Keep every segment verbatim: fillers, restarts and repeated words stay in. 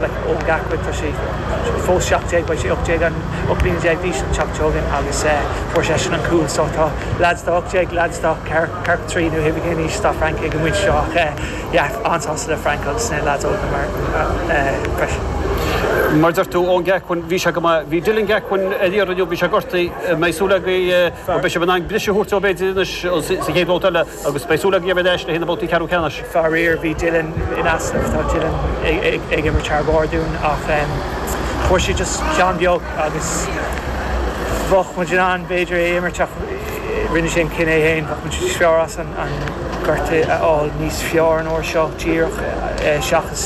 Eoin Gascoigne tá sé fós seacht déag beidh sé ocht déag an ocht bliana déag d'aois an tseachtain seo chugainn agus fuair seisean an cúl so tá lads tá ocht déag lads tá ceathracha trí nó hibé cén aois tá Frank ag an bpointe seo ach yeah an-sásta le Frank agus na lads óga mar freisin. Mar deir tú Eoin Gascoigne bhí sé go maith bhí Dylan Gascoigne ar iarraidh inniu bhí sé gortaithe mbeidh súil agaibh beidh sé in ann briseadh a thabhairt dó b'fhéidir anois sa chéad bhabhta eile agus beidh súil agaibh ar ais le haghaidh na babhtaí ceathrú ceannais. Faraor bhí Dylan in easnamh tá Dylan ag imirt thar barr dúinn ach fuair sé just ceann beag agus bheadh muid in ann b'fhéidir é imirt ach rinne sé an cinneadh féin bheadh muid níos fearr as an an gortú a fháil níos fearr an uair seo díreach seachas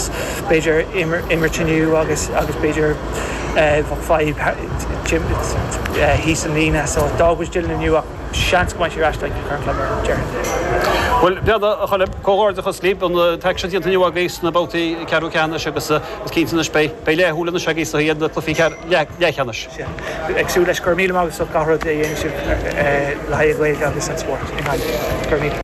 b'fhéidir imirt inniu agus agus b'fhéidir bheadh fadhb thíos an líne so d'fhág muid Dylan inniu ach seans go mbeidh sé ar ais le Corn Club ar deireadh. Well beada a Choilm comhghairdeachas libh an t-aicsean déanta inniu agaibh sna babhtaí ceathrú ceannais agus is cinnte anois beidh beidh leathshúil anois agaibh sa na cluichí leathcheannais. Ag súil leis go raibh míle maith agat gach rud a dhéanann sibh le haghaidh Gaeilge agus an spórt i nGaillimh. Go raibh míle.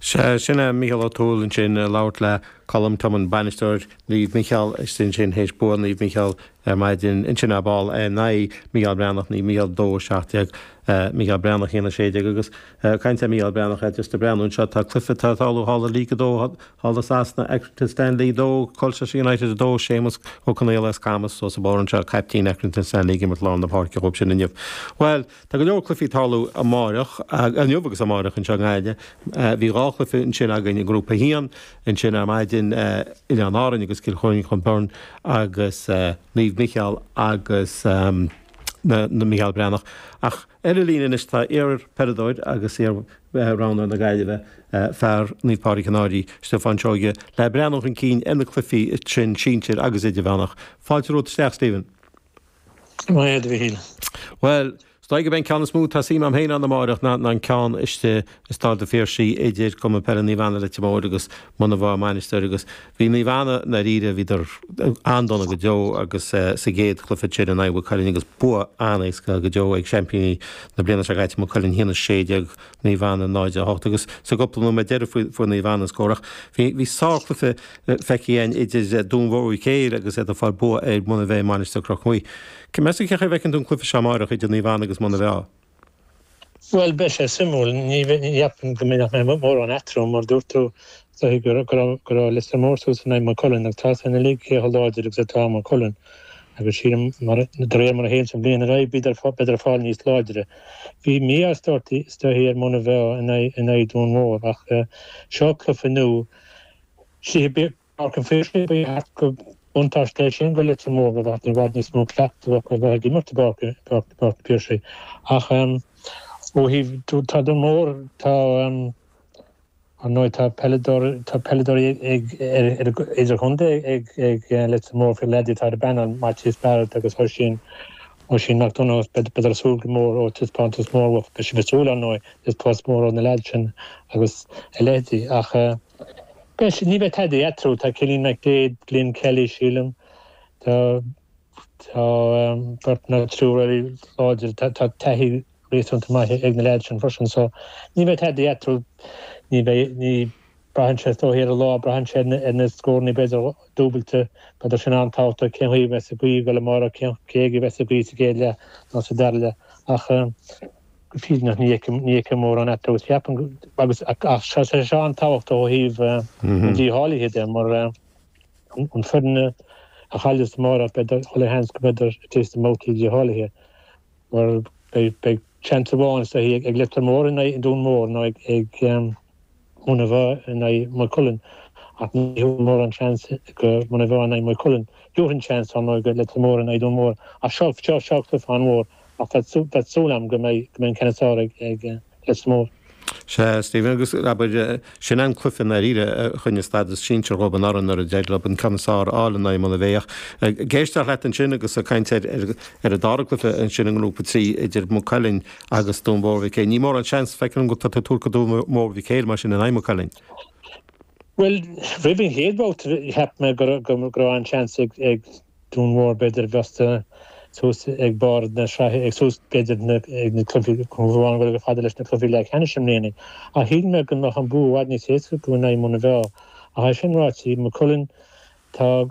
Sé sin é Mícheál Ó Tuathail ansin labhairt le Colm Tummon bainisteoir Naomh Micheál sin sin théis bua Naomh Micheál ar maidin ansin ar ball in aghaidh Mícheál Breathnach Naomh Micheál dó seacht déag Mícheál Breathnach haon a sé déag agus caint ar Mícheál Breathnach just ag breathnú anseo tá cluiche tá tarlú thall i League a dó thall i Sasana Accrington Stanley dó Colchester United a dó Séamus Ó Conaola as Camas os a bharr anseo caiptín Accrington Stanley ag imirt lár na páirce dhóibh sin inniu. Well tá go leor cluichí tarlú amárach inniu agus amárach anseo i nGaillimh. Bhí dhá chluiche ansin againn i ngrúpa haon ansin ar maidin Oileáin Árann agus Cill Chainnigh Byrne agus Naomh Micheál agus na na Mícheál Breathnach. Ach ar an líne anois tá iar-pheileadóir agus iar-roghnóir na Gaillimhe fear Naomh Pádraig an Fhairche Stiofán Seoige le breathnú chun cinn ar na cluichí sin sinsir agus idirmheánach. Fáilte romhat isteach Stephen. Maith a Mhíchíl. Well, Is dóigh go mbeidh an ceann is mó tá suim agam féin ann amárach ná an ceann istigh i Staid an Phiarsaigh idir Cumann Peile Naomh Anna Leitir Móir agus Muine Mheá Mainistir agus bhí Naomh Anna ndáiríre bhíodar an-dona go deo agus sa gcéad chluiche sin in aghaidh Mhaigh Cuilinn agus bua an-éasca go deo ag seaimpíní na bliana seo caite Maigh Cuilinn haon a sé déag Naomh Anna náid a hocht agus sa gcúpla nóiméad deiridh fuair Naomh Anna an scór ach bhí bhí sárchluiche feicthe againn idir Dún Mhór Uí Chéil agus iad ag fáil bua ar Muine Mheá Mainistir Chnoc Muaidhe. Meas tú cén chaoi a bhfeiceann tú an cluiche seo amárach idir Naomh Anna agus Muine Mheá? Bhuel beidh sé suimiúil ní cheapaim go mbeidh mórán eatarthu mar dúirt tú go go raibh Leitir Móir suas in aghaidh Maigh Cuilinn agus tá san uilig cé chomh láidir agus atá Maigh Cuilinn agus sílim mar de réir mar a théann an bhliain ar aghaidh beidir fáil níos láidre. Bhí mí-ádh is dóichí ar Muine Mheá in aghaidh Dún Mór ach seo cluiche nua Páirc an Phiarsaigh ba cheart go buntáiste é sin go Leitir Móir go bheadh i bhfad níos mó cleachtadh acu a bheith ag imirt i bPáirc an Phiarsaigh ach ó thaobh tá Dún Mór tá ar ndóigh tá peileadóirí tá peileadóirí ag idirchontae ag ag Leitir Mór faoi leaids atá ar an bpainéal Maitias Barrett agus Oisín Oisín McDonagh b'fhéidir súil go mór ó taispeántas mór beidh sibh ag súil ar ndóigh taispeántas mór ó na leaids sin agus a leithéidí ach Beidh ní bheidh tada eatarthu tá Cillian McDaid Glenn Kelly sílim tá tá beirt nó triúr eile láidir tá taithí réasúnta maith ag na leaids sin freisin so ní bheidh tada eatarthu ní bheidh ní braitheann sé is dóichí ar an lá braitheann sé ar na scóranna b'fhéidir dúbailte b'fhéidir sin an-tábhachtach cén chaoi a bheas an ghaoth ag dul amárach cén cé aige a bheas an ghaoth sa gcéad leath nó sa dara leath ach go fírinneach ní fheicim ní fheicim mórán eatarthu agus ceapaim agus ach seo sé seo an-tábhachtach ó thaobh an dícháilithe de mar an foireann a chailleas amárach b'fhéidir chuile sheans go mb'fhéidir istigh sna babhtaí dícháilithe mar beidh beidh seans amháin is dóichí ag Leitir Móir in aghaidh Dún Mór nó ag ag Muine Mheá in aghaidh Maigh Cuilinn ach ní thabharfainn mórán seans go Muine Mheá in aghaidh Maigh Cuilinn Thabharfainn seans ar ndóigh go Leitir Móir in aghaidh Dún Mór ach seo seo seo cluiche an-mhór ach tá súil agam go mbeidh go mbeidh an ceann is fearr ag ag Leitir Móir. Sea, Stephen, agus abair, sin an cluiche i ndáiríre a choinnigh stádas sinsir dhóibh anuraidh nuair a d'éirigh leo an ceann is fearr a fháil in aghaidh Muine Mheá. Ach ag éisteacht leat ansin agus ag caint ar ar an dara cluiche ansin i ngrúpa trí idir Maigh Cuilinn agus Dún Mór Mhic Éil, ní mórán seans, feicim go tá tú ag tabhairt go Dún Mór Mhic Éil mar sin in aghaidh Maigh Cuilinn. Bhuel, roimh an chéad bhabhta cheap mé go go raibh an-seans ag ag Dún Mór b'fhéidir bheasta suas ag barr na sraithe ag suas b'fhéidir ag na cluichí amháin go fada leis na cluichí leathcheannais i mbliana. Ach shíl mé go mbeadh an bua i bhfad níos éasca acu in aghaidh Muine Mheá. Ach é sin ráite, Maigh Cuilinn tá